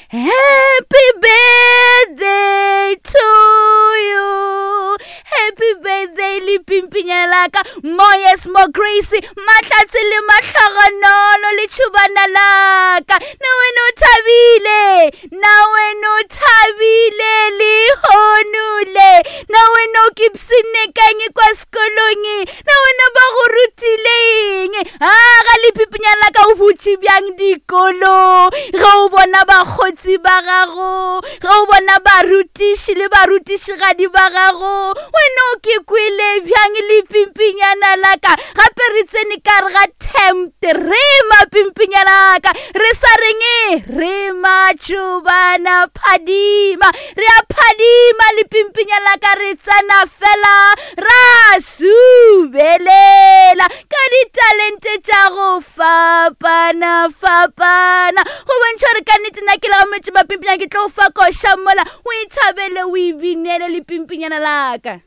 Happy birthday to you. Happy birthday le pimpinyana la ka. More yes, more grace. Mahlatse le mahlogonolo le tšhubana la ka. Na wena o thabile. Na wena o thabile lehono le. Na wena o kipsine kang kwa sekolong. Na wena ba go rutile eng? A ga le pimpinyana la ka o butše bjang dikolo ge o bona bakgotsi ba gago ge o bona barutiši le barutišigadi ba gago wena o ke kwele bjang le pimpinyana la ka gape re tsene ka re ga tempt re mapimpinyana ka re sa reng re matšobana phadima re a phadima le pimpinyana ka re tsena fela ra subelela ka ditalente tša go fapana fapana go bontšha gore ka nnete nna ke le ga metse mapimpinyana ke tlo fa koša mola o ithabele o ibinele le pimpinyana laka.